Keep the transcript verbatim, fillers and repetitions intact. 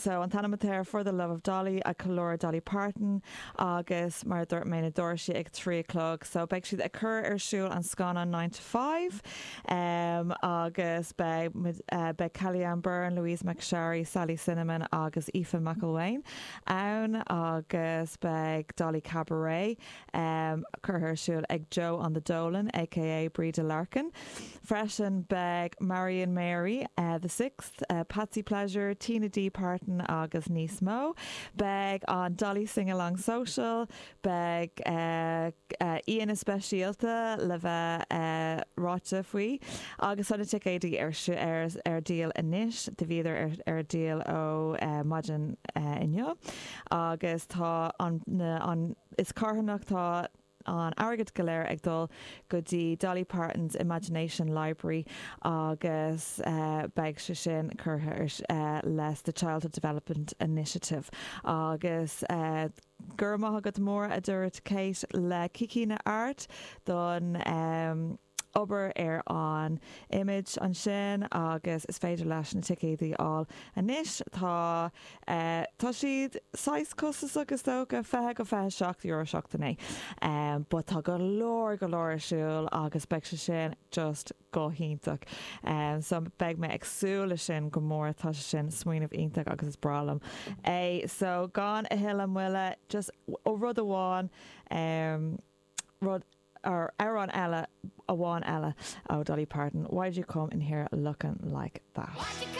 So an t-ainm atá air For the Love of Dolly ag ceiliúradh Dolly Parton agus mar dúirt mé na doirse ag trí a chlog, so beidh siad ag cur ar siúl an scannán nine to five um, agus beidh uh, beidh Kellyanne Byrne, Louise McSharry, Sally Cinnamon agus Aoife McElwain ann agus beidh Dolly Cabaret um, curtha ar siúl ag Joe on the Dolan, aka Breda Larkin. Freisin beidh Marion Mary uh, the Sixth, uh, Patsy Pleasure, Tina D Parton agus níos mó. Beidh an Dolly Sing Along Social, beidh uh, uh, aíonna speisialta le bheith uh, ráite faoi agus tá na ticéidí ar ar, ar díol anois de bhíidir ar, ar díol ó uh, maidin uh, inniu agus tá an, na, an is carthanacht tá an airgead go léir ag dul go dtí Dolly Parton's Imagination Library agus uh, beidh sé sin curtha uh, leis the Childhood Development Initiative agus uh, gur maith agat mór a dúirt Kate le Kikina Art don um, obair ar an image ansin agus is féidir leis na ticéidí a fháil anois tá uh, tá siad saghas costasach agus dócha fiche go fiche seacht euro seachtain um, but tá go leor go leor ar siúl agus beidh sé sin just go hiontach. Um, so beidh mé ag súil leis sin go mór tá sé sin smaoineamh iontach agus is breá liom. É so gan a thuilleadh moille just ó rud amháin um, rud or amhrán eile amháin eile ó Dolly Parton. Why'd you come in here looking like that?